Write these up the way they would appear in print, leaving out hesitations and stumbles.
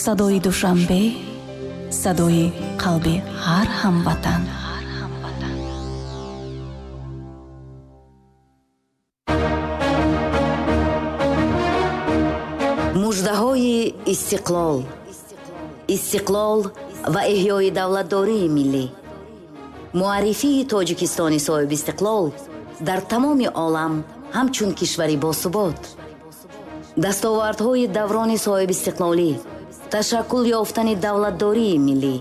Садои Душанбе, садои қалби ҳар ҳамватан. Муждаҳои истиқлол, истиқлол ва эҳёи давлатдории миллӣ, муаррифии Тоҷикистони соҳибистиқлол дар тамоми олам ҳамчун кишвари босубот, дастовардҳои даврони соҳибистиқлолӣ, ташаккул ёфтани давлатдории миллӣ,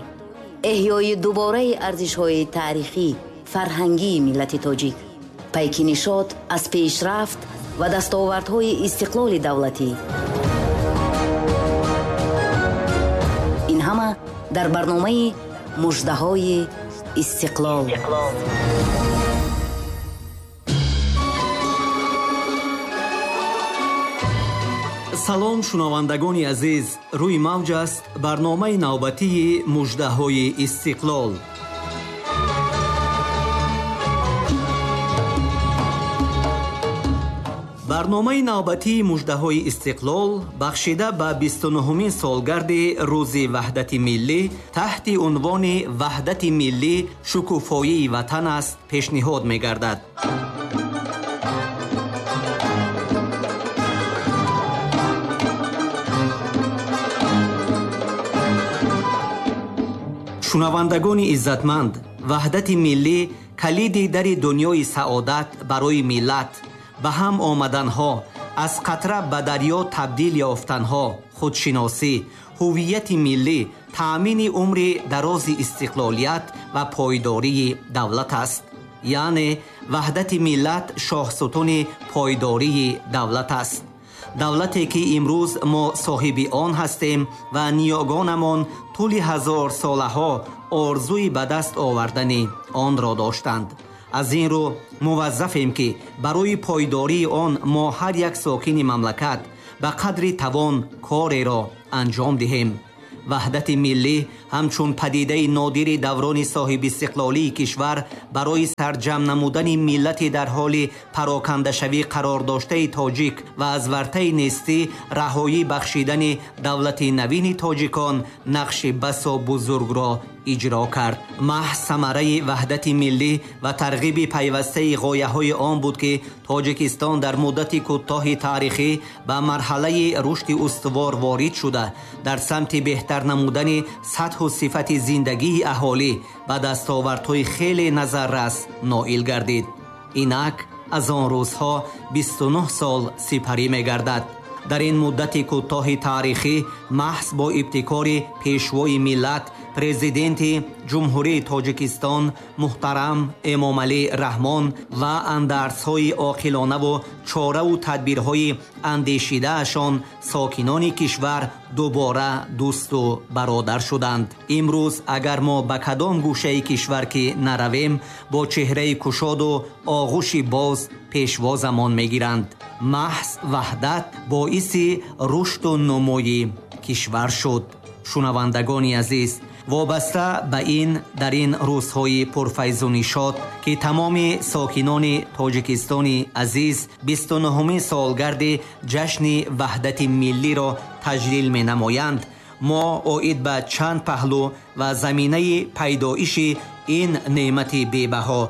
эҳёи дубораи арзишҳои таърихӣ, фарҳангии миллати тоҷик, пайки нишот аз пешрафт ва дастовардҳои истиқлоли давлатӣ. Ин ҳама дар барномаи Муждаҳои истиқлол. Салом, шунавандагони азиз, рӯи мавҷ аст барномаи навбатии Муждаҳои истиқлол. Барномаи навбатии Муждаҳои истиқлол бахшида ба 29-умин солгарди Рӯзи ваҳдати миллӣ таҳти унвони Ваҳдати миллӣ шукуфоии ватан аст пешниҳод мегардад. Шунавандагони иззатманд, ваҳдати миллӣ калиди дари дунёи саодат барои миллат, ба ҳам омаданҳо, аз қатра ба дарё табдил ёфтанҳо, худшиносӣ, ҳуввияти миллӣ, таъмини умри дарози истиқлолият ва пойдории давлат аст. Яъне ваҳдати миллат шоҳсутуни пойдории давлат аст. Давлате ки имрӯз мо соҳиби он ҳастем ва ниёгонамон тӯли ҳазорсолаҳо орзуи ба даст овардани онро доштанд. Аз ин рӯ муваззафем, ки барои пойдории он мо ҳар як сокини мамлакат ба қадри тавон кореро анҷом диҳем. Ваҳдати миллӣ ҳамчун падидаи нодири даврони соҳибистиқлолии кишвар барои сарҷамъ намудани миллати дар ҳоли парокандашавӣ қарор доштаи тоҷик ва аз вартаи нестӣ раҳоӣ бахшидани давлати навини тоҷикон нақши басо бузургро иҷро кард. Маҳз самараи ваҳдати миллӣ ва тарғиби пайвастаи ғояҳои он буд, ки Тоҷикистон дар муддати кӯтоҳи таърихӣ ба марҳалаи рушди устувор ворид шуда, дар самти беҳтар намудани сатҳу сифати зиндагии аҳолӣ ба дастовардҳои хеле назаррас ноил гардид. Инак аз он рӯзҳо 29 сол сипарӣ мегардад. Дар ин муддати кӯтоҳи таърихӣ маҳз бо ибтикори пешвои миллат, президенти Ҷумҳурии Тоҷикистон муҳтарам Эмомалӣ Раҳмон ва андарсҳои оқилонаву чораву тадбирҳои андешидаашон сокинони кишвар дубора дӯсту бародар шуданд. Имрӯз агар мо ба кадом гӯшаи кишвар ки наравем, бо чеҳраи кушоду оғӯши боз пешвозамон мегиранд. Маҳз ваҳдат боиси рушду нумӯи кишвар шуд. Шунавандагони азиз, вобаста ба ин дар ин рӯзҳои пурфайзу нишот, ки тамоми сокинони Тоҷикистони азиз 29-умин солгарди ҷашни ваҳдати миллиро таҷлил менамоянд, мо оид ба чанд паҳлӯ ва заминаи пайдоиши ин неъмати бебаҳо,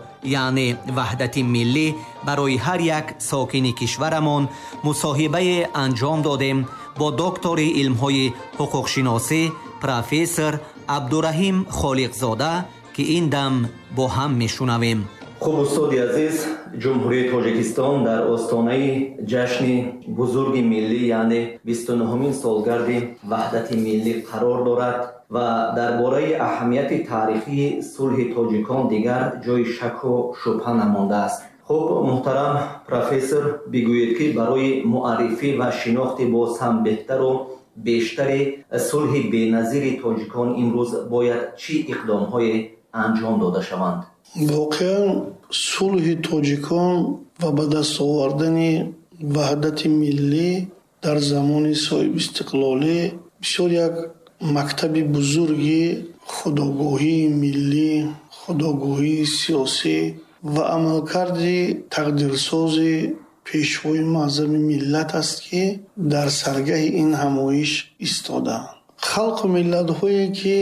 яъне ваҳдати миллӣ барои ҳар як сокини кишварамон мусоҳибае анҷом додем бо доктори илмҳои ҳуқуқшиносӣ профессор Абдураҳим Холиқзода, ки ин дам бо ҳам мешунавем. Хуб, устоди азиз, Ҷумҳурии Тоҷикистон дар остонаи ҷашни бузурги миллӣ, яъне 29-умин солгарди ваҳдати миллӣ қарор дорад ва дар бораи аҳамияти таърихии сулҳи тоҷикон дигар ҷои шаку шубҳа намондааст. Хуб, муҳтарам профессор, бигӯед, ки барои муаррифӣ ва шинохти боз ҳам беҳтару бештари сулҳи беназири тоҷикон имрӯз бояд чӣ иқдомҳое анҷом дода шаванд? Воқеан сулҳи тоҷикон ва ба даст овардани ваҳдати миллӣ дар замони соҳибистиқлолӣ бисёр як мактаби бузурги худогоҳии миллӣ, худогоҳии сиёсӣ ва амалкарди тақдирсози пешвои муаззами миллат аст, ки дар саргаҳи ин ҳамоиш истодаанд. Халқу миллатҳое, ки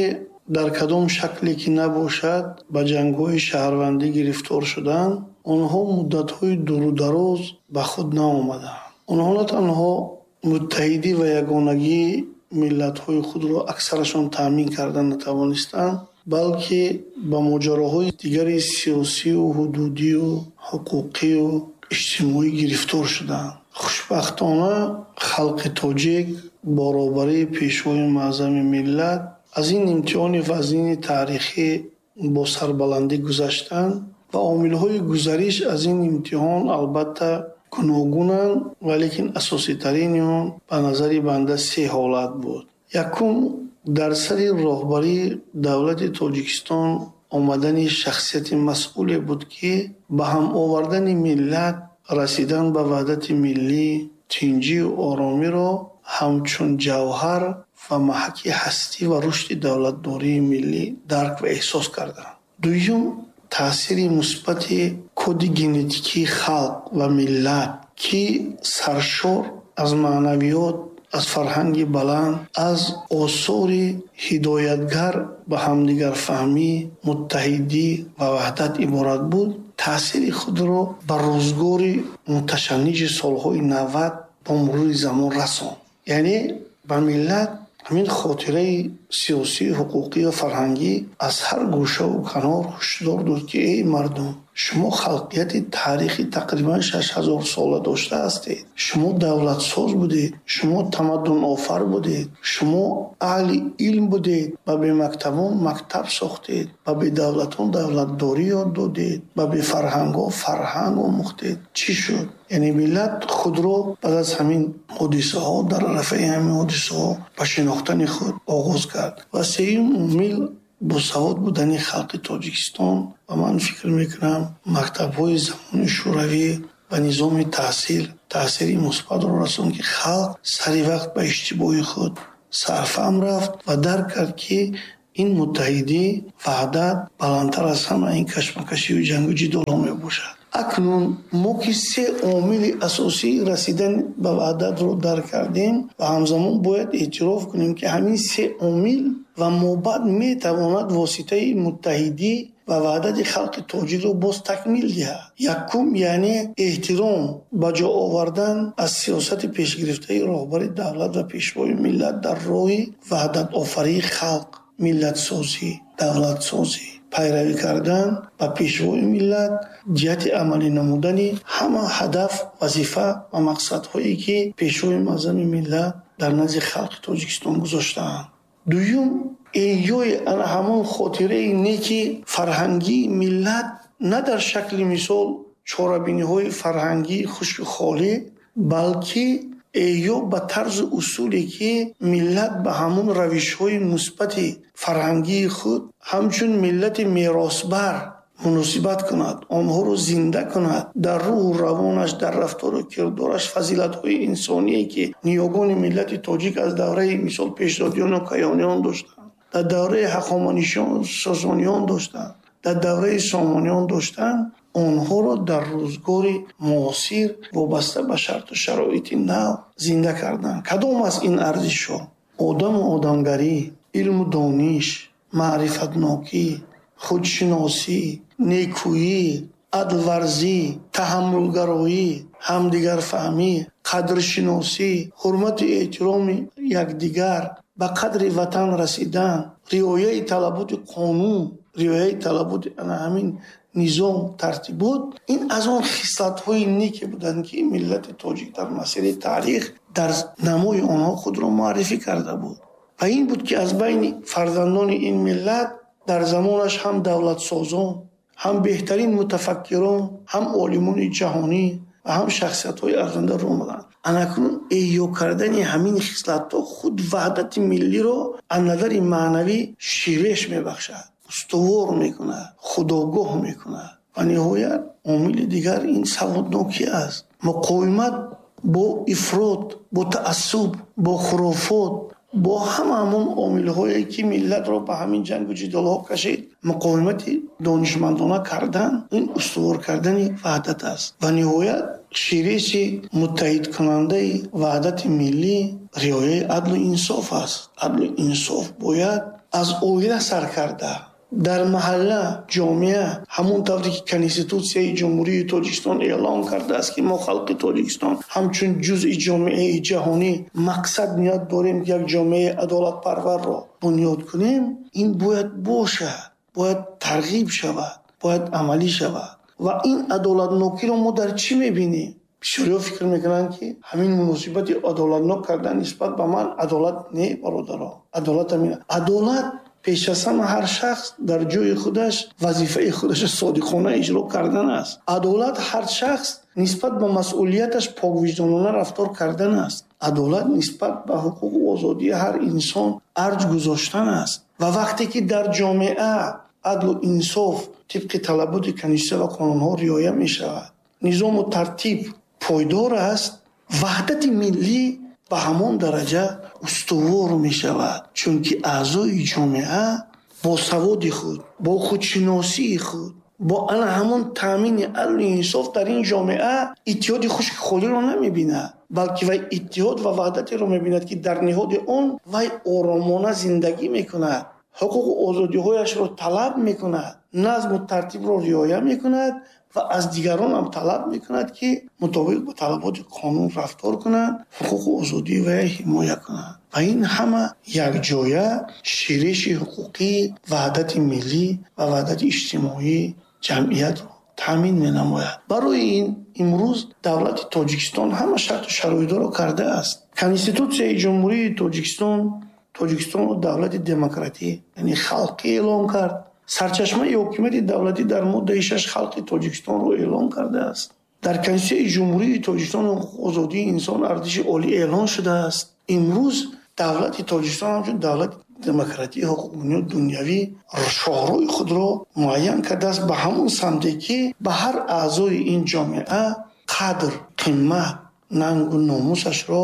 дар кадом шакле ки набошад, ба ҷангҳои шаҳрвандӣ гирифтор шуданд, онҳо муддатҳои дуру дароз ба худ наомаданд. Онҳо на танҳо муттаҳидӣ ва ягонагии миллатҳои худро аксарашон таъмин карда натавонистанд, балки ба моҷароҳои дигари сиёсию ҳудудию ҳуқуқию иҷтимоӣ гирифтор шуданд. Хушбахтона, халқи тоҷик бо роҳбарии Пешвои Муаззами миллат аз ин имтиҳони вазнини таърихӣ бо сарбаландӣ гузаштанд ва омилҳои гузариш аз ин имтиҳон албатта гуногунанд, валекин асоситарини он ба назари банда се ҳолат буд. Якум, дар сари роҳбарии давлати Тоҷикистон омадани шахсияти масъуле буд, ки ба ҳам овардани миллат, расидан ба ваҳдати миллӣ, тинҷию оромиро ҳамчун ҷавҳар ва маҳаки ҳастӣ ва рушди давлатдории миллӣ дарк ва эҳсос карданд. Дуюм, таъсири мусбати коди генетикии халқ ва миллат, ки саршор аз маънавиёт, аз фарҳанги баланд, аз осори ҳидоятгар ба ҳамдигарфаҳмӣ, муттаҳидӣ ва ваҳдат иборат буд, таъсири худро ба рӯзгори муташанниҷи солҳои 90 бо мурури замон расонд. Яъне ба миллат ҳамин хотираи сиёсӣ, ҳуқуқӣ ва фарҳангӣ аз ҳар гӯшаву канор ҳушдор дод, ки эй мардум, шумо халқияти таърихи тақрибан 6000 сола дошта ҳастед, шумо давлатсоз будед, шумо тамаддунофар будед, шумо аҳли илм будед, ба бемактабон мактаб сохтед, ба бедавлатон давлатдорӣ ёд додед, ба бефарҳангҳо фарҳанг омӯхтед. Чӣ шуд? Яъне миллат худро баъд аз ҳамин ҳодисаҳо, дар арафаи ҳамин ҳодисаҳо ба шинохтани худ оғоз кард. Ва сеюм омил босавод будани халқи Тоҷикистон ва ман фикр мекунам, мактабҳои замони шӯравӣ ва низоми таҳсил таъсири мусбатро расонд, ки халқ сари вақт ба иштибоҳи худ сарфаҳм рафт ва дарк кард, ки ин муттаҳидӣ, ваҳдат баландтар аз ҳама ин кашмакашию ҷангу ҷидолҳо мебошад. Акнун мо ки се омили асосии расидан ба ваҳдатро дарк кардем ва ҳамзамон бояд эътироф кунем, ки ҳамин се омил ва мобаъд метавонад воситаи муттаҳидӣ ва ваҳдати халқи тоҷикро боз такмил диҳад. Якум, яъне эҳтиром ба ҷо овардан аз сиёсати пешгирифтаи роҳбари давлат ва пешвои миллат дар роҳи ваҳдатофарии халқ, миллатсозӣ, давлатсозӣ, пайравӣ кардан ба пешвои миллат ҷиҳати амалӣ намудани ҳама ҳадаф, вазифа ва мақсадҳое, ки пешвои муаззами миллат дар назди халқи Тоҷикистон гузоштаанд. Дуюм, эҳёи ана ҳамон хотираи неки фарҳангии миллат на дар шакли мисол чорабиниҳои фарҳангии хушку холӣ, балки эҳё ба тарзу усуле, ки миллат ба ҳамон равишҳои мусбати фарҳангии худ ҳамчун миллати меросбар муносибат кунад, онҳоро зинда кунад, дар рӯҳу равонаш, дар рафтору кирдораш фазилатҳои инсоние, ки ниёгони миллати тоҷик аз давраи мисол пешдодиёну каёниён доштанд, дар давраи ҳахоманишиён, сосониён доштанд, дар давраи сомониён доштанд, онҳоро дар рӯзгори муосир вобаста ба шарту шароити нав зинда карданд. Кадом аст ин арзишҳо? Одаму одамгарӣ, илму дониш, маърифатнокӣ, худшиносӣ, некӯӣ, адлварзӣ, таҳаммулгароӣ, ҳамдигарфаҳмӣ, қадршиносӣ, ҳурмату эҳтироми якдигар, ба қадри ватан расидан, риояи талаботи қонун, риояи талаботи ана ҳамин низом, тартибот. Ин аз он хислатҳои неке буданд, ки миллати тоҷик дар масири таърих дар намои онҳо худро муаррифӣ карда буд. Ва ин буд, ки аз байни фарзандони ин миллат дар замонаш ҳам давлатсозон, ҳам беҳтарин мутафаккирон, ҳам олимони ҷаҳонӣ ва ҳам шахсиятҳои арзанда омаданд. Анакнун эҳё кардани ҳамин хислатҳо худ ваҳдати миллиро аз назари маънавӣ ширеш мебахшад, устувор мекунад, худогоҳ мекунад. Ва ниҳоят омили дигар ин саводнокӣ аст. Муқовимат бо ифрот, бо таассуб, бо хурофот, Бо ҳама ҳамон омилҳое, ки миллатро ба ҳамин ҷангу ҷидолҳо кашид, муқовимати донишмандона кардан, ин устувор кардани ваҳдат аст. Ва ниҳоят шириси муттаҳидкунандаи ваҳдати миллӣ риояи адлу инсоф аст. Адлу инсоф бояд аз оила сар карда дар маҳалла, ҷомеа, ҳамон тавре ки Конститутсияи Ҷумҳурии Тоҷикистон эълон кардааст, ки мо халқи Тоҷикистон ҳамчун ҷузъи ҷомеаи ҷаҳонӣ мақсад ният дорем, ки як ҷомеаи адолатпарварро бунёд кунем, ин бояд бошад, бояд тарғиб шавад, бояд амалӣ шавад. Ва ин адолатнокиро мо дар чӣ мебинем? Бисёриҳо фикр мекунанд, ки ҳамин муносибати адолатнок кардан нисбат ба ман адолат не, бародаро. Адолат ҳамин. Адолат пеш аз ҳама ҳар шахс дар ҷои худаш вазифаи худашро содиқона иҷро кардан аст. Адолат ҳар шахс нисбат ба масъулияташ поквиҷдонона рафтор кардан аст. Адолат нисбат ба ҳуқуқу озодии ҳар инсон арҷ гузоштан аст. Ва вақте ки дар ҷомеа адлу инсоф тибқи талаботи конститутсия ва қонунҳо риоя мешавад, низому тартиб пойдор аст, ваҳдати миллӣ ба ҳамон дараҷа устувор мешавад, чунки аъзои ҷомеа бо саводи худ, бо худшиносии худ, бо ана ҳамон таъмини адлу инсоф дар ин ҷомеа иттиҳоди хушки холиро намебинад, балки вай иттиҳод ва ваҳдатеро мебинад, ки дар ниҳоди он вай оромона зиндагӣ мекунад, ҳуқуқу озодиҳояшро талаб мекунад, назму тартибро риоя мекунад ва аз дигарон ҳам талаб мекунад, ки мутобиқ ба талаботи қонун рафтор кунанд, ҳуқуқу озодии вай ҳимоя кунанд. Ва ин ҳама якҷоя шириши ҳуқуқии ваҳдати миллӣ ва ваҳдати иҷтимоии ҷамъиятро таъмин менамояд. Барои ин имрӯз давлати Тоҷикистон ҳама шарту шароитҳоро кардааст. Конститутсияи Ҷумҳурии Тоҷикистон Тоҷикистонро давлати демократӣ, яъне халқӣ эълон кард. Сарчашмаи ҳокимияти давлатӣ дар моддаи 6 халқи Тоҷикистонро эълон кардааст. Дар Конститутсияи Ҷумҳурии Тоҷикистон ҳуқуқу озодии инсон арзиши олӣ эълон шудааст. Имрӯз давлати Тоҷикистон ҳамчун давлати демократӣ, ҳуқуқбунёд, дунявӣ шоҳроҳи худро муайян кардааст ба ҳамон самте, ки ба ҳар аъзои ин ҷомеа қадр, қимат, нангу номусашро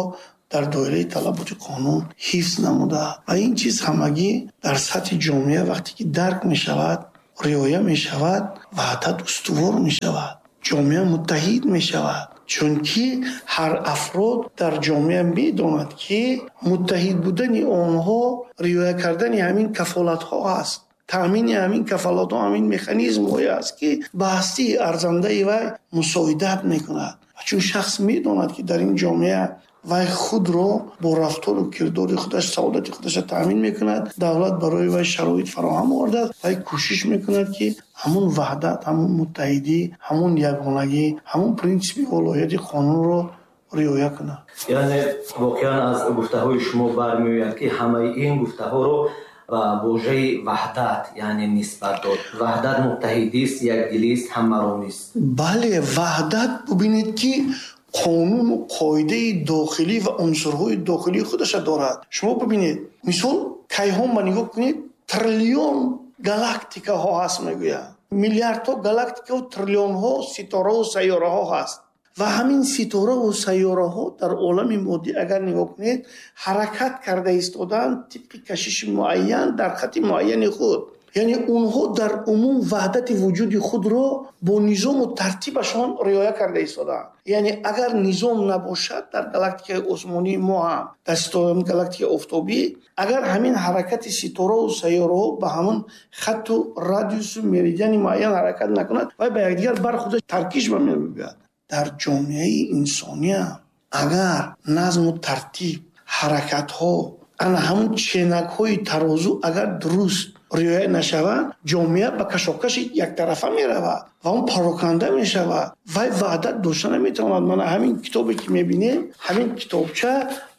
дар доираи талаботи қонун ҳифз намудааст. Ва ин чиз ҳамагӣ дар сатҳи ҷомеа вақте ки дарк мешавад, риоя мешавад, ваҳдат устувор мешавад, ҷомеа муттаҳид мешавад. Чунки ҳар афрод дар ҷомеа медонад, ки муттаҳид будани онҳо риоя кардани ҳамин кафолатҳо аст. Таъмини ҳамин кафолатҳо, ҳамин механизмҳое аст, ки ба ҳастии арзандаи вай мусоидат мекунад. Ва чун шахс медонад, ки дар ин ҷомеа вай худро бо рафтору кирдори худаш саодати худашро таъмин мекунад, давлат барои вай шароит фароҳам овардааст, вай кӯшиш мекунад, ки ҳамон ваҳдат, ҳамон муттаҳидӣ, ҳамон ягонагӣ, ҳамон принсипи волоияти қонунро риоя кунад. Яъне воқеан аз гуфтаҳои шумо бармеояд, ки ҳамаи ин гуфтаҳоро ба вожаи ваҳдат, яъне нисбат дод. Ваҳдат муттаҳидист, якдилист, ҳамаромист. Бале, ваҳдат, бубинед, ки қонуну қоидаи дохилӣ ва унсурҳои дохилии худашро дорад. Шумо бибинед, мисол кайҳон ба нигоҳ кунед, триллион галактикаҳо ҳаст, мегӯянд. Миллиардҳо галактикаву триллионҳо ситораву сайёраҳо ҳаст. Ва ҳамин ситораву сайёраҳо дар олами моддӣ агар нигоҳ кунед, ҳаракат карда истодаанд тибқи кашиши муайян дар хати муайяни худ. Яъне онҳо дар умум ваҳдати вуҷуди худро бо низому тартибашон риоя карда истодаанд. Яъне агар низом набошад дар галактикаи осмонии мо ҳам, дар галактикаи офтобӣ, агар ҳамин ҳаракати ситораву сайёраҳо ба ҳамон хатту радиусу меридиани муайян ҳаракат накунад, вай ба якдигар бархӯрда таркиш ба мебиёяд. Дар ҷомеаи инсония агар назму тартиб, ҳаракатҳо, ана ҳамон ченакҳои тарозу агар дуруст риоя нашаванд, ҷомеа ба кашокаши яктарафа меравад ва он пароканда мешавад. Вай ваҳдат дошта наметавонад. Мана ҳамин китобе ки мебинем, ҳамин китобча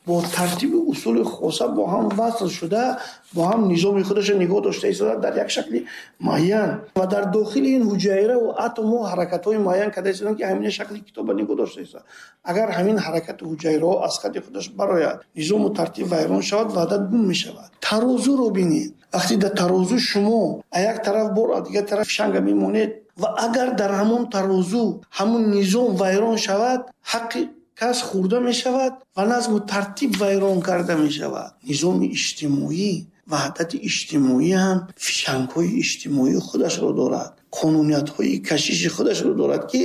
бо тартиби усули хоса бо ҳам васл шуда, бо ҳам низоми худашро нигоҳ дошта истода дар як шакли муайян ва дар дохили ин ҳуҷайраву атомҳо ҳаракатҳои муайян карда истодаанд, ки ҳамин шакли китобро нигоҳ дошта истода. Агар ҳамин ҳаракати ҳуҷайраҳо аз хати худаш барояд, низому тартиб вайрон шавад, ваҳдат гум мешавад. Тарозуро бинед. Вақте дар тарозу шумо аз як тараф бор, аз дигар тараф шанга мемонед ва агар дар ҳамон тарозу ҳамон низом вайрон шавад, ҳаққи Кас хӯрда мешавад ва назму тартиб вайрон карда мешавад. Низоми иҷтимоӣ, ваҳдати иҷтимоӣ ҳам фишангҳои иҷтимоии худашро дорад, қонуниятҳои кашиши худашро дорад, ки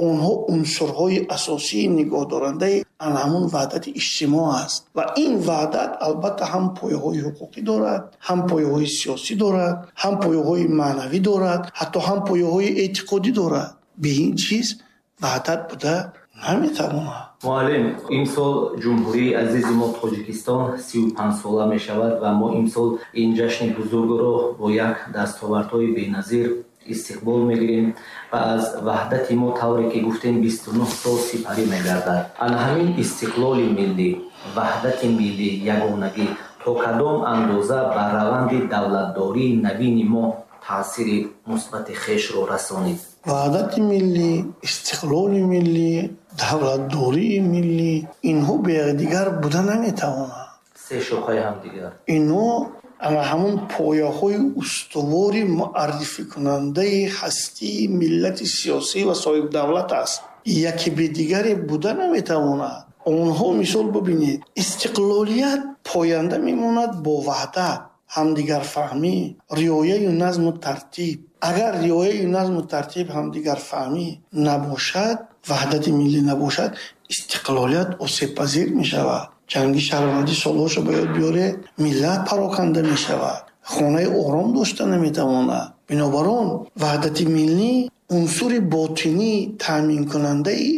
онҳо унсурҳои асосии нигоҳдорандаи ан ҳамун ваҳдати иҷтимоъ аст. Ва ин ваҳдат албатта ҳам пояҳои ҳуқуқӣ дорад, ҳам пояҳои сиёсӣ дорад, ҳам пояҳои маънавӣ дорад, ҳатто ҳам пояҳои эътиқодӣ дорад. Бе ин чиз ваҳдат буда наметавонад. Муаллим, имсол ҷумҳурии азизи мо Тоҷикистон 35 сола мешавад ва мо имсол ин ҷашни бузургро бо як дастовардҳои беназир истиқбол мегирем ва аз ваҳдати мо, тавре ки гуфтем, 29 сол сипарӣ мегардад. Ана ҳамин истиқлоли миллӣ, ваҳдати миллӣ, ягонагӣ то кадом андоза ба раванди давлатдории навини мо таъсири мусбати хешро расонид? Ваҳдати миллӣ, истиқлоли миллӣ, давлатдории миллӣ инҳо бе якдигар буда наметавонанд. Се шохаи ҳамдигар. Инҳо ана ҳамун пояҳои устувори муаррификунандаи ҳастии миллати сиёсӣ ва соҳибдавлат аст. Яке бе дигаре буда наметавонад. Онҳо мисол бибинед, истиқлолият поянда мемонад бо ваҳдат, ҳамдигарфаҳмӣ, риояю назму тартиб. Агар риояю назму тартиб, ҳамдигарфаҳмӣ набошад, ваҳдати миллӣ набошад, истиқлолият осебпазир мешавад. Ҷанги шаҳрвандӣ солҳошо ба ёд биёред, миллат пароканда мешавад, хонаи ором дошта наметавонад. Бинобар он ваҳдати миллӣ унсури ботинӣ таъминкунандаи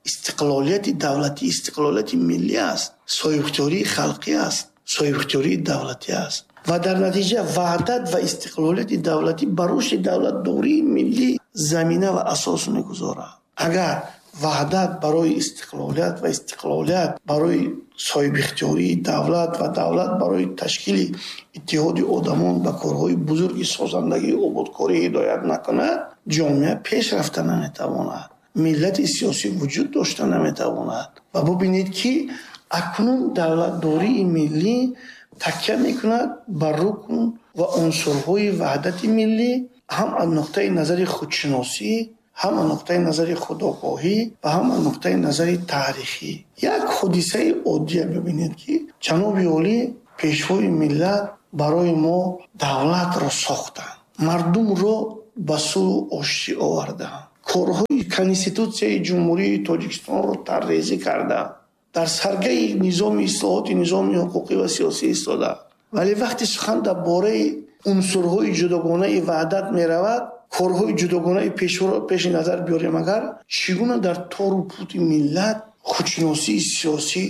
истиқлолияти давлатӣ, истиқлолияти миллӣ аст, соҳибихтиёрии халқӣ аст, соҳибихтиёрии давлатӣ аст. Ва дар натиҷа ваҳдат ва истиқлолияти давлатӣ ба рушди давлатдории миллӣ замина ва асос мегузорад. Агар ваҳдат барои истиқлолият ва истиқлолият барои соҳибихтиёрии давлат ва давлат барои ташкили иттиҳоди одамон ба корҳои бузурги созандагии ободкорӣ ҳидоят накунад, ҷомеа пеш рафта наметавонад, миллати сиёсӣ вуҷуд дошта наметавонад. Ва бубинед, ки акнун давлатдории миллӣ такя мекунад бар рукн ва унсурҳои ваҳдати миллӣ, ҳам аз нуқтаи назари худшиносӣ, ҳам аз нуқтаи назари худогоҳӣ ва ҳам аз нуқтаи назари таърихӣ. Як ҳодисаи оддия бибинед, ки ҷаноби олӣ, пешвои миллат, барои мо давлатро сохтанд, мардумро ба сулҳу оштӣ оварданд, корҳои Конститутсияи Ҷумҳурии Тоҷикистонро таррезӣ карданд, дар саргаи низоми ислоҳоти низоми ҳуқуқӣ ва сиёсӣ истода. Вале вақте сухан дар бораи унсурҳои ҷудогонаи ваҳдат меравад, корҳои ҷудогонаи пешворо пеши назар биёрем, агар чӣ гуна дар тору пути миллат худшиносии сиёсӣ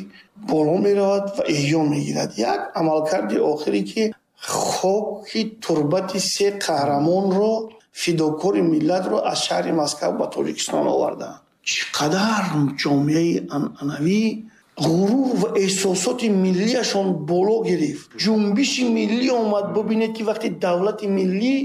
боло меравад ва эҳё мегирад. Як амалкарди охире, ки хоки турбати се қаҳрамонро, фидокори миллатро аз шаҳри Москва ба Тоҷикистон оварданд. Чӣ қадар ҷомеаи анъанавӣ ғурур ва эҳсосоти миллиашон боло гирифт, ҷунбиши миллӣ омад. Бубинед, ки вақте давлати миллӣ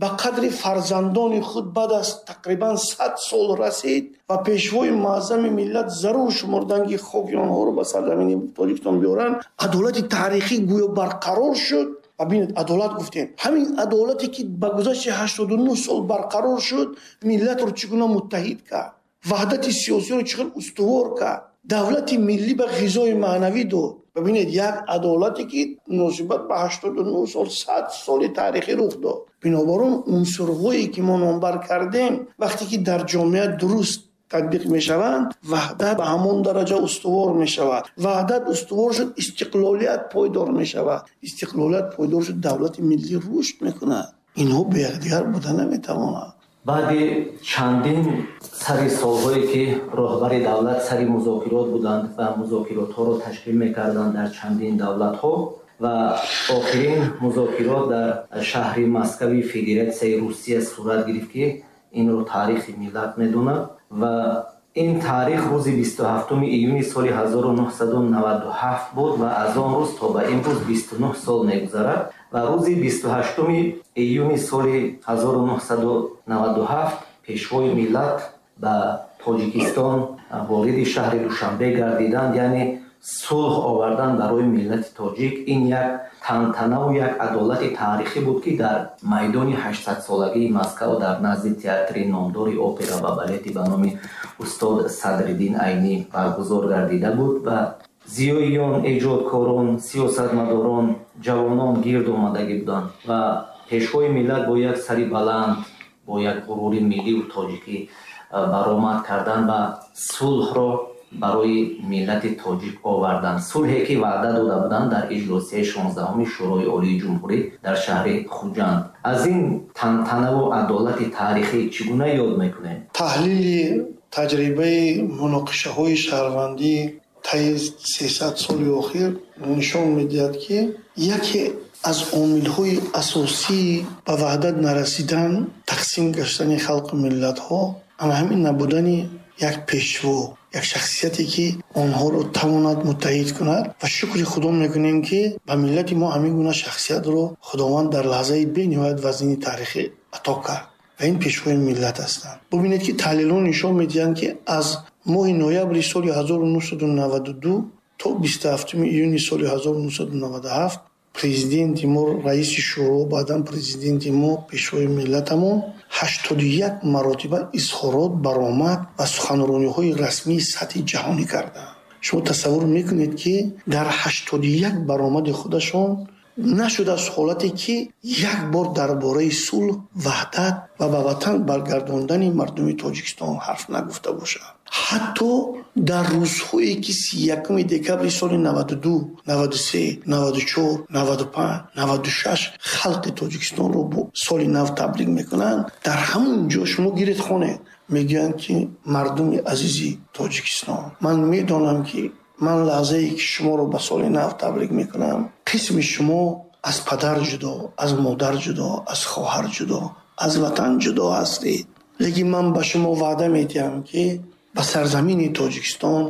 ба қадри фарзандони худ баъд аз тақрибан 100 сол расид ва пешвои муаззами миллат зарур шумурданд, ки хоки онҳоро ба сарзамини Тоҷикистон биёранд, адолати таърихӣ гӯё барқарор шуд. Ва бинед, адолат гуфтем, ҳамин адолате ки ба гузашти 89 сол барқарор шуд, миллатро чӣ гуна муттаҳид кард, ваҳдати сиёсиро чӣ хел устувор кард, давлати миллӣ ба ғизои маънавӣ дод. Бибинед, як адолате ки муносибат ба 89 сол, 100 соли таърихӣ рух дод. Бинобар он унсурҳое ки мо номбар кардем, вақте ки дар ҷомеа дуруст татбиқ мешаванд, ваҳдат ба ҳамон дараҷа устувор мешавад. Ваҳдат устувор шуд, истиқлолият пойдор мешавад. Истиқлолият пойдор шуд, давлати миллӣ рушд мекунад. Инҳо бе якдигар буда наметавонанд. Баъди чандин сари солҳое ки роҳбари давлат сари музокирот буданд ва музокиротҳоро ташкил мекарданд дар чандин давлатҳо ва охирин музокирот дар шаҳри Москави Федератсияи Русия сурат гирифт, ки инро таърихи миллат медонад ва ин таърих рӯзи 27 июни соли 1997 буд ва аз он рӯз то ба имрӯз 29 сол мегузарад ва рӯзи 28 июни соли 1997 пешвои миллат ба Тоҷикистон вориди шаҳри Душанбе гардиданд, яъне Сулҳ овардан барои миллати тоҷик ин як тантанаву як адолати таърихӣ буд, ки дар майдони 800-солагии Москав, дар назди театри номдори опера ва балети ба номи устод Садриддин Айнӣ баргузор гардида буд ва зиёиён, эҷодкорон, сиёсатмадорон, ҷавонон гирд омадагӣ буданд ва пешвои миллат бо як сари баланд, бо як ғурури милливу тоҷикӣ баромад карданд ва сулҳро барои миллати тоҷик оварданд. Сулҳе, ки ваъда дода буданд дар иҷлосияи 16-уми Шӯрои Олии Ҷумҳурӣ дар шаҳри Хуҷанд. Аз ин тантанаву адолати таърихӣ чӣ гуна ёд мекунем? Таҳлили таҷрибаи муноқишаҳои шаҳрвандӣ таи 300 соли охир нишон медиҳад, ки яке аз омилҳои асосии ба ваҳдат нарасидан, тақсим гаштани халқу миллатҳо ана ҳамин набудани як пешво, як шахсияте, ки онҳоро тавонад муттаҳид кунад. Ва шукри Худо мекунем, ки ба миллати мо ҳамин гуна шахсиятро Худованд дар лаҳзаи бениҳоят вазнини таърихӣ ато кард ва ин пешвои миллат ҳастанд. Бубинед, ки таҳлилҳо нишон медиҳанд, ки аз моҳи ноябри соли 1992 то 27 июни соли 1997 президенти мо, раиси шӯро, баъдан президенти мо, пешвои миллатамон 81 маротиба изҳорот, баромад ва суханрониҳои расмии сатҳи ҷаҳонӣ карданд. Шумо тасаввур мекунед, ки дар 81 баромади худашон нашудааст ҳолате, ки як бор дар бораи сулҳ, ваҳдат ва ба ватан баргардондани мардуми Тоҷикистон ҳарф нагуфта бошад. Ҳатто дар рӯзҳое, ки 31 декабри соли 92, 93, 94, 95, 96 халқи Тоҷикистонро бо соли нав табрик мекунанд, дар ҳамон ҷо шумо гиред хонед, мегӯянд, ки мардуми азизи Тоҷикистон, ман медонам, ки ман лаҳзае, ки шуморо ба соли нав табрик мекунам, қисми шумо аз падар ҷудо, аз модар ҷудо, аз хоҳар ҷудо, аз ватан ҷудо ҳастед, лекин ман ба шумо ваъда медиҳам, ки ба сарзамини Тоҷикистон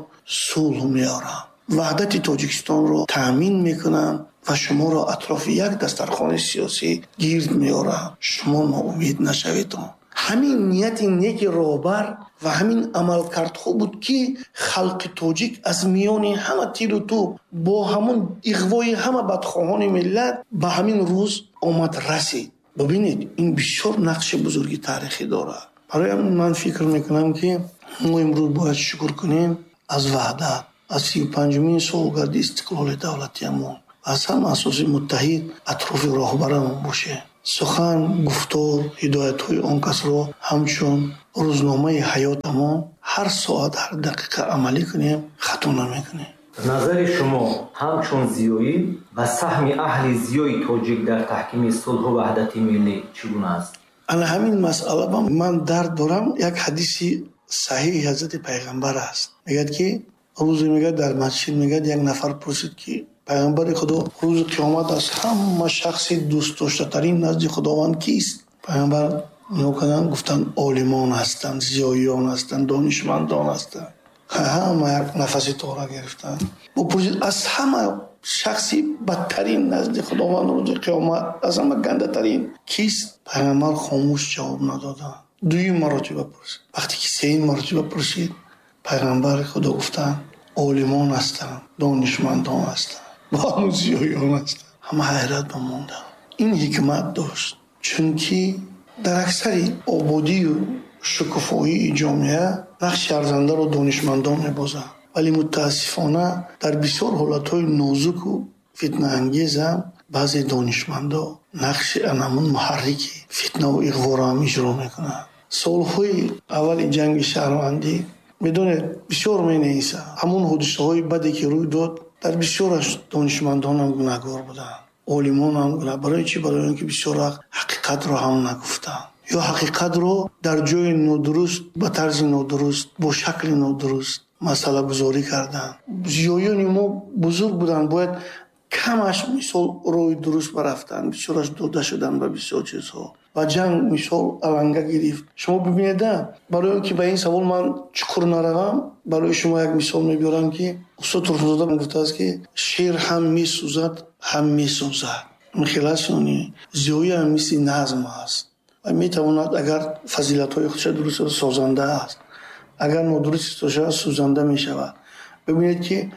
сулҳ меорам, ваҳдати Тоҷикистонро таъмин мекунам ва шуморо атрофи як дастархони сиёсӣ гирд меорам. Шумо ноумед нашавед. Ҳамин нияти неки роҳбар ва ҳамин амалкардҳо буд, ки халқи тоҷик аз миёни ҳама тилу тӯб, бо ҳамон иғвои ҳама бадхоҳони миллат ба ҳамин рӯз омад расид. Бубинед, ин бисёр нақши бузурги таърихӣ дорад. Барои ҳамин ман фикр мекунам, ки мо имрӯз бояд шукр кунем аз ваҳдат, аз 35-умин солгарди истиқлоли давлатиамон, аз ҳама асоси муттаҳид атрофи роҳбарамон бошем. Сухан, гуфтор, ҳидоятҳои он касро ҳамчун рӯзномаи ҳаётамон ҳар соат, ҳар дақиқа амалӣ кунем, хато намекунем. Назари шумо ҳамчун зиёӣ ва саҳми аҳли зиёи тоҷик дар таҳкими сулҳу ваҳдати миллӣ чӣ гуна аст? Ана ҳамин масъала ба ман дард дорам. Як ҳадиси саҳиҳи ҳазрати пайғамбар аст. Мегӯяд, ки рӯзе, мегӯяд, дар масҷид, мегӯяд, як нафар пурсид, ки пайғамбари Худо, рӯзи қиёмат аз ҳама шахси дӯстдоштатарин назди Худованд кист? Пайғамбар нигоҳ карданд, гуфтанд: олимон ҳастанд, зиёиён ҳастанд, донишмандон ҳастанд. Ҳама як нафаси тора гирифтанд. Бо пурсид: аз ҳама шахси бадтарин назди Худованд рӯзи қиёмат, аз ҳама гандатарин кист? Пайғамбар хомӯш, ҷавоб надоданд. Дуюм маротиба пурсид. Вақте ки сеюм маротиба пурсид, пайғамбари Худо гуфтанд: олимон ҳастанд, донишмандон ҳастанд, бо ҳамун зиёиён ҳастанд. Ҳама ҳайрат ба монданд. Ин ҳикмат дошт, чунки дар аксари ободию шукуфоии ҷомеа нақши арзандаро донишмандон мебозанд, вале мутаассифона дар бисёр ҳолатҳои нозуку фитнаангезам баъзе донишмандо нақши анамун муҳаррики фитнаву иғворо ҳам иҷро мекунанд. Солҳои аввали ҷанги шаҳрвандӣ, медонед, бисёр менависам, ҳамон ҳодисаҳои баде, ки рӯй дод, дар бисёраш донишмандонам гунаҳгор буданд, олимонам гунаҳ. Барои чӣ? Барои он ки бисёр вақт ҳақиқатро ҳам нагуфтанд ё ҳақиқатро дар ҷои нодуруст, ба тарзи нодуруст, бо шакли нодуруст масъалагузорӣ карданд. Зиёиёни мо бузург буданд, бояд камаш мисол роҳи дуруст барафтанд, бисёраш дода шуданд ба бисёр чизҳо ва ҷанг мисол аланга гирифт. Шумо бибинеда, барои он ки ба ин савол ман чуқур наравам, барои шумо як мисол мебиёрам, ки устод Турсунзода гуфтааст, ки шер ҳам месӯзад, ҳам месозад. Ин аст ё не? Зиёӣ ҳам мисли назм аст ва метавонад, агар фазилатҳои худша дуруст, созанда аст, агар нодуруст истифода шавад, сӯзанда мешавад. Бибинед, ки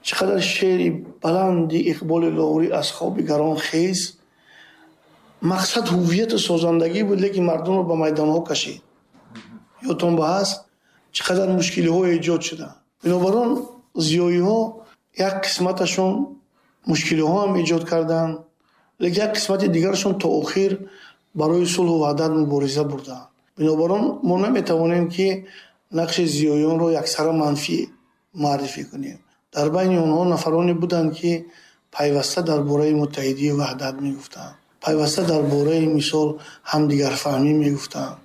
Чӣ қадар шеъри баланди Иқболи Лоҳурӣ аз хоби гарон хез, мақсад ҳуввияту созандагӣ буд, лекин мардумро ба майдонҳо кашид. Ёдтон ба ҳаст, чӣ қадар мушкилиҳо эҷод шуданд. Бинобар он зиёиҳо як қисматашон мушкилиҳо ҳам эҷод карданд, лекин як қисмати дигарашон то охир барои сулҳу ваҳдат мубориза бурданд. Бинобар он мо наметавонем, ки нақши зиёиёнро яксара манфӣ муаррифӣ кунем. Дар байни онҳо нафароне буданд, ки пайваста дар бораи муттаҳидию ваҳдат мегуфтанд, пайваста дар бораи мисол ҳамдигарфаҳмӣ мегуфтанд,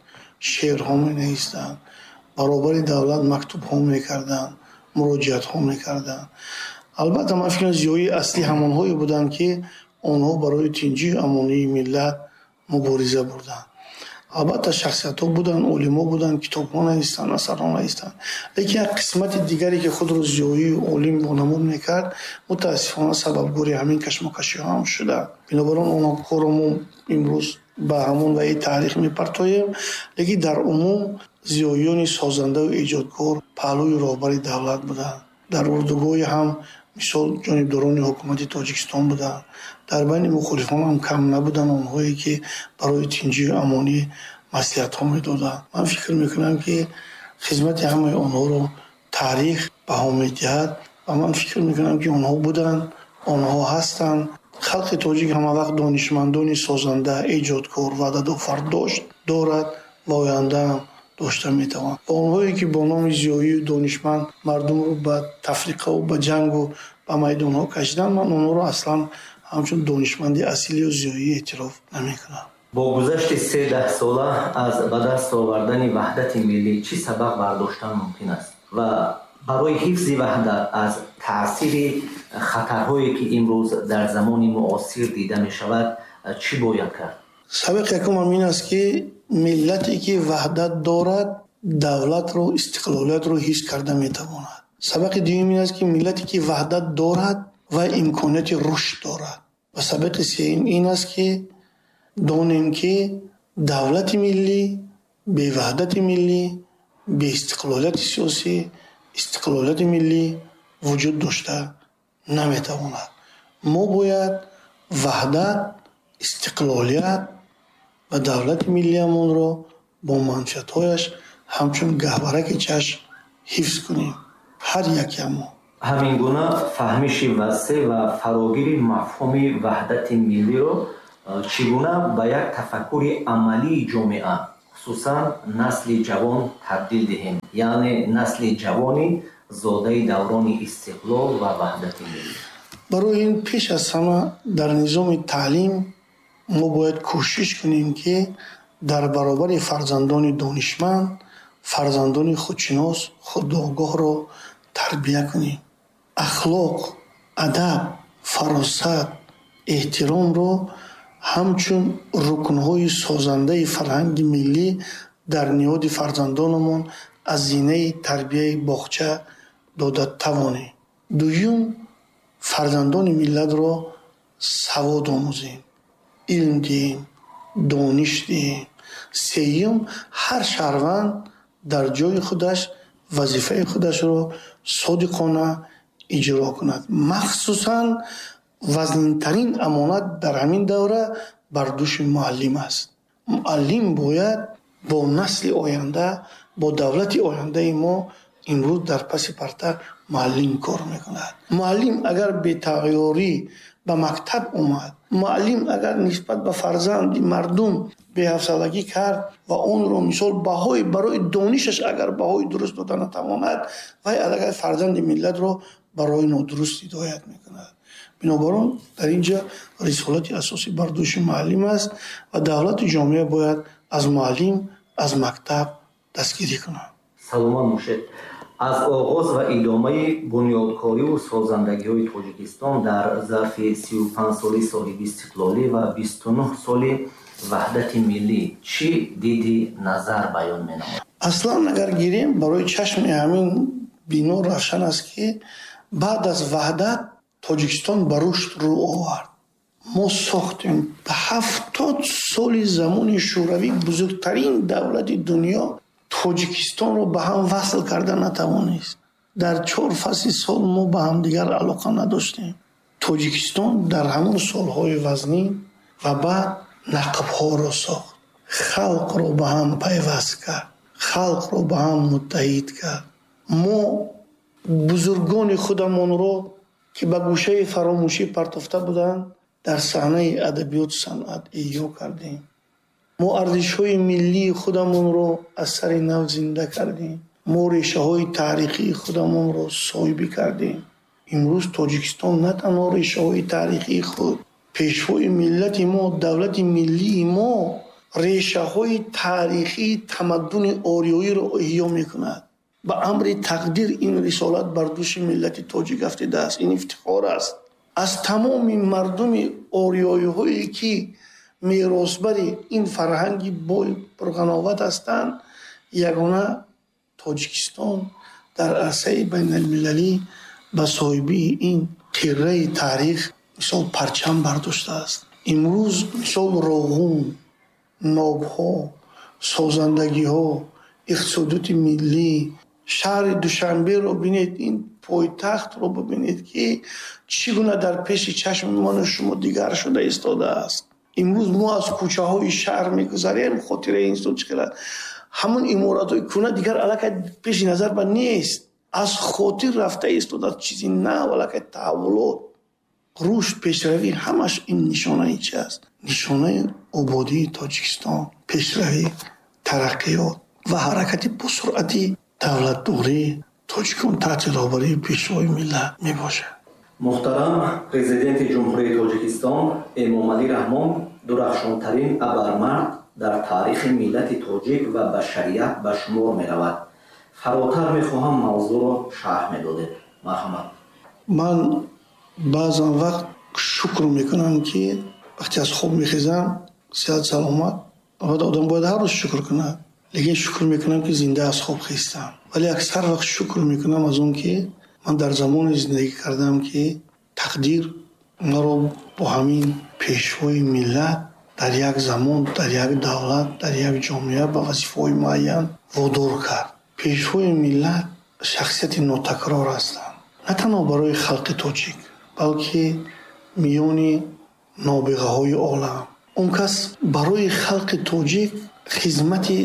шеърҳо менавистанд, баробари давлат мактубҳо мекарданд, муроҷиатҳо мекарданд. Албатта, ман фикр мекунам, зиёии аслӣ ҳамонҳое буданд, ки онҳо барои тинҷию амонии миллат мубориза бурданд. Албатта, шахсиятҳо буданд, олимҳо буданд, китобҳо навистанд, асарҳо навистанд, лекин як қисмати дигаре, ки худро зиёию олим вонамуд мекард, мутаассифона сабабгори ҳамин кашмокашиҳо ҳам шуданд. Бинобар он онҳоро мо имрӯз ба ҳамон ваи таърих мепартоем, лекин дар умум зиёиёни созандаву эҷодкор паҳлӯи роҳбари давлат буданд. Дар урдугоҳи ҳам мисол ҷонибдорони ҳукумати Тоҷикистон буданд. Дар байни мухолифон ҳам кам набуданд онҳое, ки барои тинҷию амонӣ маслиҳатҳо медоданд. Ман фикр мекунам, ки хизмати ҳамаи онҳоро таърих баҳо медиҳад ва ман фикр мекунам, ки онҳо буданд, онҳо ҳастанд. Халқи тоҷик ҳамавақт донишмандони созанда, эҷодкор, ваъдадофар дошт, дорад ва ояндаам дошта метавонад. Ва онҳое, ки бо номи зиёию донишманд мардумро ба тафриқаву ба ҷангу ба майдонҳо кашиданд, ман онҳоро аслан ҳамчун донишманди асилию зиёӣ эътироф намекунам. Бо гузашти се даҳсола аз ба даст овардани ваҳдати миллӣ чӣ сабақ бардоштан мумкин аст ва барои ҳифзи ваҳдат аз таъсири хатарҳое, ки имрӯз дар замони муосир дида мешавад, чӣ бояд кард? Сабақи якумам ин аст, ки миллате, ки ваҳдат дорад, давлатро, истиқлолиятро ҳис карда метавонад. Сабақи дуюм ин аст, ки миллате, ки ваҳдат дорад, ва имконияти рушд дорад. Ва сабақи сеюм ин аст, ки донем, ки давлати миллӣ беваҳдати миллӣ, беистиқлолияти сиёсӣ, истиқлолияти миллӣ вуҷуд дошта наметавонад. Мо бояд ваҳдат, истиқлолият ва давлати миллиамонро бо манфиатҳояш ҳамчун гаҳвораки чашм ҳифз кунем, ҳар якамон. Ҳамин гуна фаҳмиши васеъ ва фарогири мафҳуми ваҳдати миллиро чӣ гуна ба як тафаккури амалии ҷомеа, хусусан насли ҷавон, табдил диҳем, яъне насли ҷавони зодаи даврони истиқлол ва ваҳдати миллӣ? Барои ин пеш аз ҳама дар низоми таълим мо бояд кӯшиш кунем, ки дар баробари фарзандони донишманд фарзандони худшинос, худогоҳро тарбия кунем. Ахлоқ, адаб, фаросат, эҳтиромро ҳамчун рукнҳои созандаи фарҳанги миллӣ дар ниҳоди фарзандонамон аз зинаи тарбияи боғча дода тавонем. Дуюм, фарзандони миллатро савод омӯзем, илм диҳем, дониш диҳем. Сеюм, ҳар шаҳрванд дар ҷои худаш вазифаи худашро содиқона иҷро кунад. Махсусан вазнинтарин амонат дар ҳамин давра бар дӯши муаллим аст. Муаллим бояд бо насли оянда, бо давлати ояндаи мо, имрӯз дар паси парта муаллим кор мекунад. Муаллим агар бетағйирӣ ба мактаб омад, муаллим агар нисбат ба фарзанди мардум беҳавсалагӣ кард ва онро мисол баҳои барои донишаш агар баҳои дуруст дода натавонад, вай аллакай фарзанди миллатро барои нодуруст ҳидоят мекунад. Бинобар он дар ин ҷо рисолати асосӣ бар дӯши муаллим аст ва давлату ҷомеа бояд аз муаллим, аз мактаб дастгирӣ кунад. Саломат бошед. Аз оғоз ва идомаи бунёдкориву созандагиҳои Тоҷикистон дар зарфи 35 соли соҳибистиқлолӣ ва 29 соли ваҳдати миллӣ чӣ диди назар баён менамояд? Аслан агар гирем, барои чашми ҳамин бино равшан аст, ки баъд аз ваҳдат Тоҷикистон ба рушд рӯ овард. Мо сохтем. 70 соли замони Шӯравӣ бузургтарин давлати дунё Тоҷикистонро ба ҳам васл карда натавонист. Дар 4 фасли сол мо ба ҳамдигар алоқа надоштем. Тоҷикистон дар ҳамон солҳои вазнин ва баъд нақбҳоро сохт, халқро ба ҳам пайваст кард, халқро ба ҳам муттаҳид кард. Мо бузургони худамонро, ки ба гӯшаи фаромӯшӣ партофта буданд, дар саҳнаи адабиёту санъат эҳё кардем. Мо арзишҳои миллии худамонро аз сари нав зинда кардем. Мо решаҳои таърихии худамонро соҳибӣ кардем. Имрӯз Тоҷикистон на танҳо решаҳои таърихии худ, пешвои миллати мо, давлати миллии мо решаҳои таърихии тамаддуни ориёиро эҳё мекунад. Ба амри тақдир ин рисолат бар дӯши миллати тоҷик афтидааст. Ин ифтихор аст. Аз тамоми мардуми ориёиҳое, ки меросбари ин фарҳанги бой пурғановат ҳастанд, ягона Тоҷикистон дар арсаи байналмилалӣ ба соҳибии ин қирраи таърих мисол парчам бардоштааст. Имрӯз мисол Роғун, нобҳо, созандагиҳо, иқтисодиёти миллӣ, шаҳри Душанберо бинед, ин пойтахтро бибинед, ки чӣ гуна дар пеши чашми ману шумо дигар шуда истодааст. Имрӯз мо аз кӯчаҳои шаҳр мегузарем, хотираи инсон чӣ қадар ҳамон иморатҳои кӯҳна дигар аллакай пеши назар ба нест, аз хотир рафта истодааст. Чизи нав, аллакай таҳаввулот, рушд, пешравӣ, ҳамаш ин нишонаи чи аст? Нишонаи ободии Тоҷикистон, пешравӣ, тараққиёт ва ҳаракати босуръати давлатдории тоҷикон таҳти роҳбарии пешвои миллат мебошад. Муҳтарам Президенти Ҷумҳурии Тоҷикистон Эмомалӣ Раҳмон дурахшонтарин абармард дар таърихи миллати тоҷик ва башарият ба шумор меравад. Фаротар мехоҳам мавзӯъро шарҳ медодед. Марҳамат. Ман баъзан вақт шукр мекунам, ки вақте аз хоб мехезам, сиҳат саломат, албатта одам бояд ҳар рӯз шукр кунад, лекин шукр мекунам, ки зинда аз хоб хестам. Вале аксар вақт шукр мекунам аз он, ки ман дар замоне зиндагӣ кардам, ки тақдир маро бо ҳамин пешвои миллат дар як замон, дар як давлат, дар як ҷомеа ба вазифаҳои муайян водор кард. Пешвои миллат шахсияти нотакрор ҳастанд, на танҳо барои халқи тоҷик, балки миёни нобиғаҳои олам. Он кас барои халқи тоҷик хизмати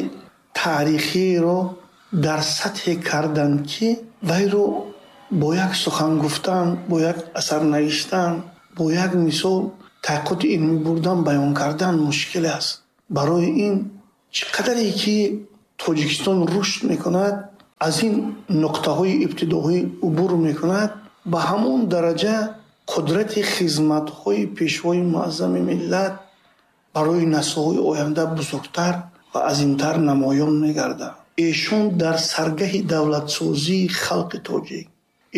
таърихиро дар сатҳе карданд, ки вайро бо як сухан гуфтан, бо як асар навиштан, бо як мисол таҳқиқоти илмӣ бурдан, баён кардан мушкил аст. Барои ин чӣ қадаре ки Тоҷикистон рушд мекунад, аз ин нуқтаҳои ибтидоӣ убур мекунад, ба ҳамон дараҷа қудрати хизматҳои пешвои муаззами миллат барои наслҳои оянда бузургтар ва азимтар намоён мегардад. Эшон дар саргаҳи давлатсозии халқи тоҷик,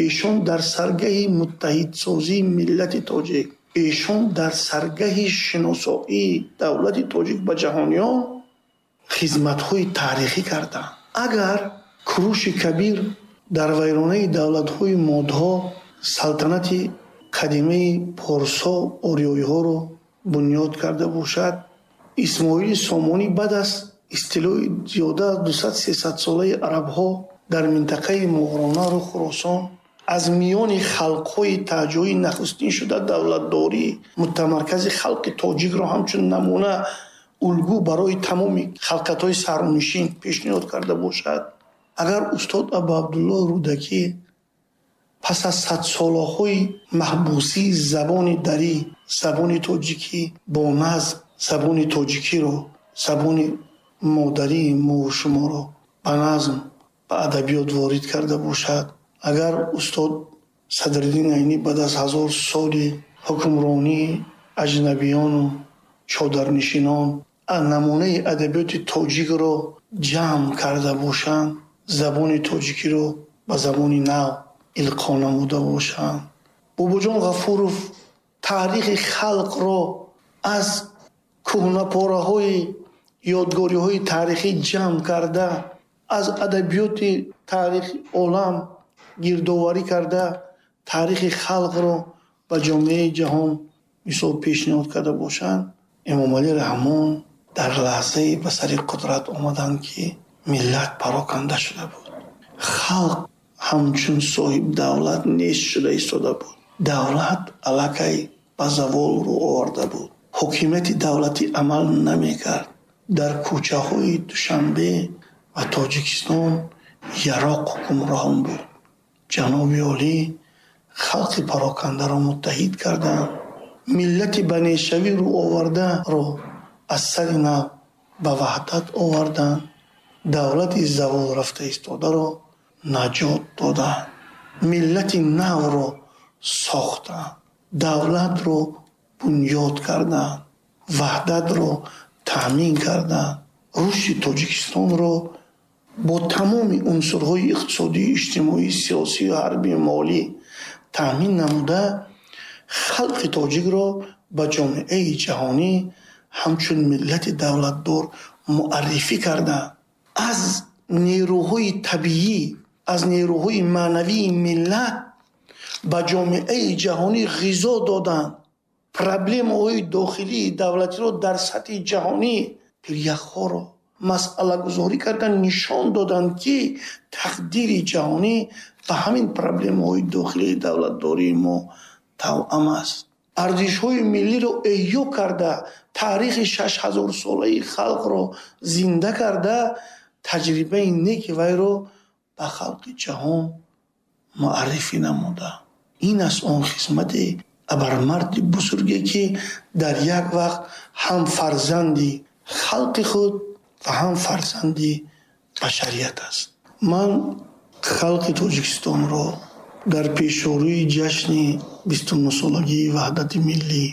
эшон дар саргаҳи муттаҳидсозии миллати тоҷик, эшон дар саргаҳи шиносоии давлати тоҷик ба ҷаҳониён хизматҳои таърихӣ карданд. Агар Куруши Кабир дар вайронаи давлатҳои модҳо салтанати қадимаи порсо ориёиҳоро бунёд карда бошад, Исмоили Сомонӣ баъд аз истилои зиёда аз 200-300 солаи арабҳо дар минтақаи Мовароуннаҳру Хуросон аз миёни халқҳои таҳҷоӣ нахустин шуда давлатдории мутамаркази халқи тоҷикро ҳамчун намуна улгӯ барои тамоми халқатҳои сарнишин пешниҳод карда бошад, агар устод Абу Абдуллоҳ Рӯдакӣ пас аз садсолаҳои маҳбусии забони дарӣ, забони тоҷикӣ бо назм, забони тоҷикиро, забони модарии мову шуморо ба назм, ба адабиёт ворид карда бошад, агар устод Садриддин Айнӣ баъд аз 1000 соли ҳукмронии аҷнабиёну чодарнишинон намунаи адабиёти тоҷикро ҷамъ карда бошанд, забони тоҷикиро ба забони нав илқо намуда бошанд, Бобоҷон Ғафуров таърихи халқро аз кӯҳнапораҳои ёдгориҳои таърихӣ ҷамъ карда, аз адабиёти таърихи олам гирдоварӣ карда, таърихи халқро ба ҷомеаи ҷаҳон мисол пешниҳод карда бошанд, Эмомалӣ Раҳмон дар лаҳзае ба сари қудрат омаданд, ки миллат пароканда шуда буд. Халқ ҳамчун соҳибдавлат нест шуда истода буд. Давлат аллакай ба завол рӯ оварда буд. Ҳокимияти давлатӣ амал намекард. Дар кӯчаҳои Душанбе ва Тоҷикистон яроқ ҳукмрон буд. Ҷаноби олӣ халқи парокандаро муттаҳид карданд. Миллати ба нешавӣ рӯ овардаро аз сари нав ба ваҳдат оварданд. Давлати завол рафта истодаро наҷот доданд. Миллати навро сохтанд. Давлатро бунёд карданд. Ваҳдатро таъмин карданд. Рушди Тоҷикистонро бо тамоми унсурҳои иқтисодӣ, иҷтимоӣ, сиёсӣ, ҳарбӣ, молӣ таъмин намуда, халқи тоҷикро ба ҷомеаи ҷаҳонӣ ҳамчун миллати давлатдор муаррифӣ карданд. Аз нерӯҳои табиӣ, аз нерӯҳои маънавии миллат ба ҷомеаи ҷаҳонӣ ғизо доданд. Проблемаҳои дохилии давлатиро дар сатҳи ҷаҳонӣ, пиряхҳоро масъалагузорӣ карданд, нишон доданд, ки тақдири ҷаҳонӣ ба ҳамин проблемаҳои дохилии давлатдории мо тавъам аст. Арзишҳои миллиро эҳё карда, таърихи 6000-солаи халқро зинда карда, таҷрибаи неки вайро ба халқи ҷаҳон муаррифӣ намуда. Ин аст он хизмати абармарди бузурге, ки дар як вақт ҳам фарзанди халқи худ ва ҳам фарзанди башарият аст. Ман халқи Тоҷикистонро дар пешорӯи ҷашни 29-солагии ваҳдати миллӣ,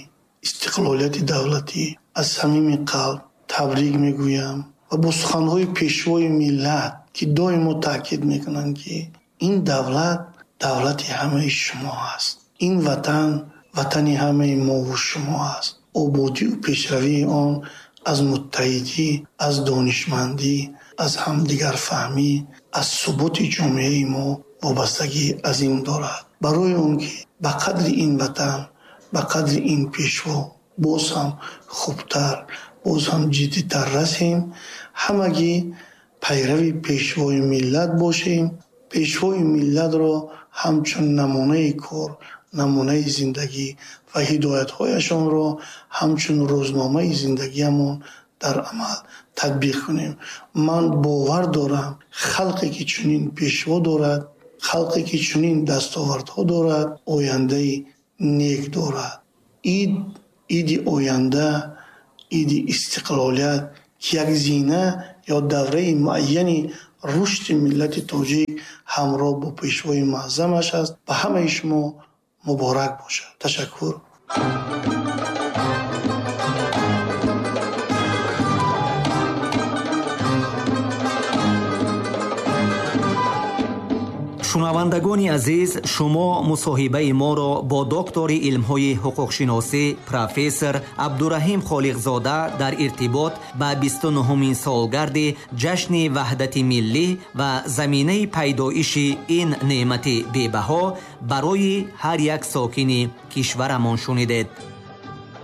истиқлолияти давлатӣ аз самими қалб табрик мегӯям ва бо суханҳои пешвои миллат, ки доимо таъкид мекунанд, ки ин давлат давлати ҳамаи шумо аст, ин ватан ватани ҳамаи мову шумо аст. Ободию пешравии он аз муттаҳидӣ, аз донишмандӣ, аз ҳамдигарфаҳмӣ, аз суботи ҷомеаи мо вобастагии азим дорад. Барои он ки ба қадри ин ватан, ба қадри ин пешво боз ҳам хубтар, боз ҳам ҷиддитар расем, ҳамагӣ пайрави пешвои миллат бошем. Пешвои миллатро ҳамчун намунаи кор, намунаи зиндагӣ ва ҳидоятҳояшонро ҳамчун рӯзномаи зиндагиамон дар амал татбиқ кунем. Ман бовар дорам, халқе ки чунин пешво дорад, халқе ки чунин дастовардҳо дорад, ояндаи нек дорад. Ид, иди оянда, иди истиқлолият, ки як зина ё давраи муайяни рушди миллати тоҷик ҳамроҳ бо пешвои муаззамаш аст, ба ҳамаи шумо муборак бошад. Ташаккур. Шунавандагони азиз, шумо мусоҳибаи моро бо доктори илмҳои ҳуқуқшиносӣ профессор Абдураҳим Холиқзода дар иртибот ба 29-умин солгарди ҷашни ваҳдати миллӣ ва заминаи пайдоиши ин неъмати бебаҳо барои ҳар як сокини кишварамон шунидед.